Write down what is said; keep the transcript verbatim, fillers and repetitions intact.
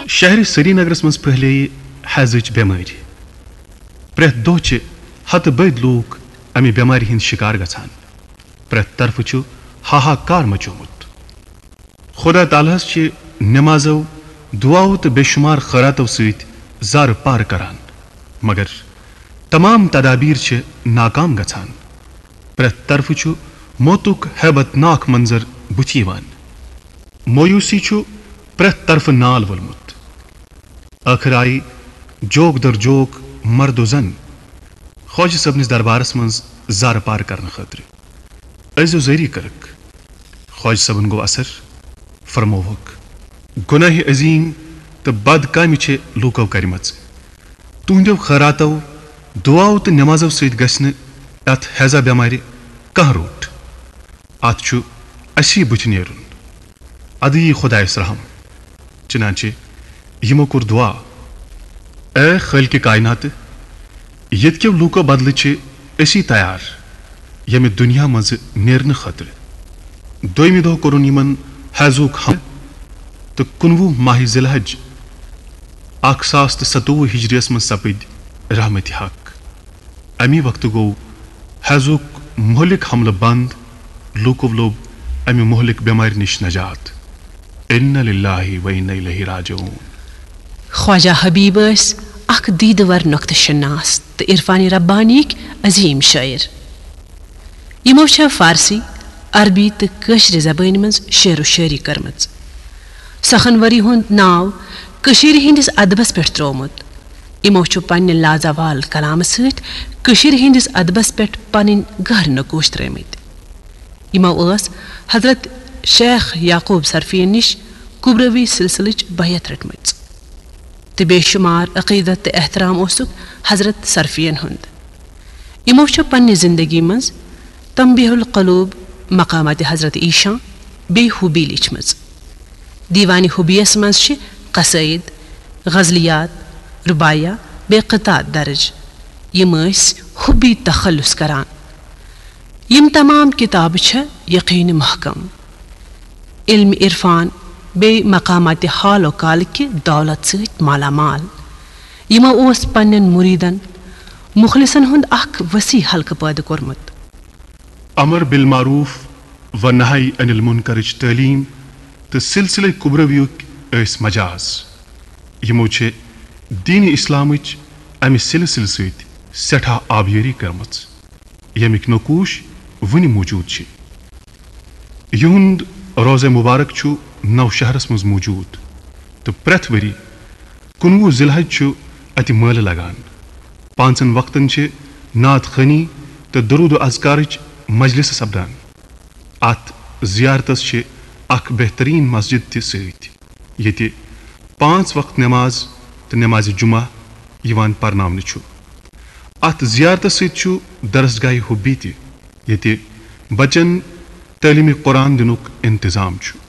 شہر سرینگرس منٛز پھٔہلییہِ حیضٕچ بٮ۪مٲرۍ۔ پرٛٮ۪تھ دۄہ چھِ ہتہٕ بٔدۍ لوٗکھ امہِ بٮ۪مارِ ہٕنٛدۍ شِکار گژھان۔ پرٛٮ۪تھ طرفہٕ چھُ ہاہاکار مچومُت۔ خدا تعالیٰ ہس چھِ نمازو، دعاو تہٕ بے شمار خٲراتو سۭتۍ زارٕ پار کران، مگر تمام تدابیر چھِ ناکام گژھان۔ پرٛٮ۪تھ طرفہٕ چھُ موتُک ہیبت ناک منظر بُتھِ یِوان۔ مویوٗسی چھُ پرٛٮ۪تھ طرفہٕ نال وولمُت۔ ٲخٕر آیہِ جوک در جوک مرد و زن خواجہ صٲبنِس دربارس منٛز زارٕ پار کرنہٕ خٲطرٕ۔ عزیز و زٲری کٔرٕکھ۔ خواجہ صٲبن گوٚو اثر، فرمووُکھ، گۄناہ عظیم تہٕ بد کامہِ چھِ لوٗکو کرِمژٕ۔ تُہنٛدیو خٲراتو، دعاو تہٕ نمازو سۭتۍ گژھِ نہٕ اتھ ہیضہ بٮ۪مارِ کانٛہہ روٚٹ۔ اتھ چھُ اسی بُتھِ نیرُن۔ ادٕ یی خۄدایس رحم۔ چنانچہ یِمو کوٚر دعا، اے خٲلقِ کائناتہٕ، ییٚتہِ کیو لوٗکو بدلہٕ چھِ أسی تیار ییٚمہِ دُنیا منٛزٕ نیرنہٕ خٲطرٕ۔ دوٚیمہِ دۄہ کوٚرُن یِمن حیضُک حملہٕ تہٕ کُنوُہ ماہِ ذی الحج اکھ ساس تہٕ ستووُہ ہجریس منٛز سپٕدۍ رحمتِ حق۔ امی وقتہٕ گوٚو حیضُک مہلک حملہٕ بنٛد، لوٗکو لوٚب امہِ مہلک بٮ۪مارِ نِش نجات۔ انا للہ و انا الیہ راجعون۔ خواجہ حبیب ٲسۍ اکھ دیدٕ ور نۄقطہٕ شناس تہٕ عرفانِ ربانیٕکۍ عظیم شٲعر۔ یِمو چھےٚ فارسی، عربی تہٕ کٲشرِ زبٲنۍ منٛز شعر و شٲعری کٔرمٕژ۔ سخن ؤری ہُنٛد ناو کٔشیٖرِ ہٕنٛدِس ادبس پٮ۪ٹھ ترٛوومُت۔ یِمو چھُ پننہِ لازوال کلامہٕ سۭتۍ کٔشیٖرِ ہٕنٛدِس ادبس پٮ۪ٹھ پنٕنۍ گہرٕ نقوش ترٲومٕتۍ۔ یِمو ٲس حضرت شیخ یعقوب صرفین نِش کبروی سلسلٕچ بیعت رٔٹمٕژ تہٕ بے شمار عقیدت تہٕ احترام اوسُکھ حضرت صرفین ہُنٛد۔ یِمو چھُ پننہِ زندگی منٛز تنبیہ القلوب، مقامات حضرت ایشاں بیٚیہِ حبی لیچھمٕژ۔ دیوانِ حبیس منٛز چھِ قصٲیِد، غزلیات، رباعیہ بیٚیہِ قطعات درج۔ یِم ٲسۍ حبی تخلص کران۔ یِم تمام کتابہٕ چھےٚ یقین محکم، علم عرفان بیٚیہِ مقامات حال و کال کہِ دولت سۭتۍ مالا مال۔ یِمو اوس پننٮ۪ن مریدن مخلصن ہُنٛد اکھ وسیع حلقہٕ پٲدٕ کوٚرمُت۔ امر بالمعروف و نہی عن المنکرٕچ تعلیٖم تہٕ سلسلہ کبرویُک ٲسۍ مجاز۔ یِمو چھِ دین اسلامٕچ امہِ سلسلہٕ سۭتۍ سٮ۪ٹھاہ آبیٲری کٔرمٕژ، ییٚمِکۍ نقوش وُنہِ موجود چھِ۔ یِہُنٛد روضہ مبارک چھُ نوشہرس منٛز موجود تہٕ پرٛٮ۪تھ ؤری کُنوُہ ذی الحج چھُ اتہِ مٲلہٕ لگان۔ پانٛژن وقتن چھِ نعت خوانی تہٕ درود و اذکارٕچ مجلس سپدان۔ اتھ زیارتس چھِ اکھ بہترین مسجد تہِ سۭتۍ، ییٚتہِ پانٛژھ وقت نماز تہٕ نمازِ جمعہ یِوان پرناونہٕ چھُ۔ اتھ زیارتس سۭتۍ چھُ درسگاہ حبی تہِ، ییٚتہِ بچن تعلیٖمِ قرآن دِنُک انتظام چھُ۔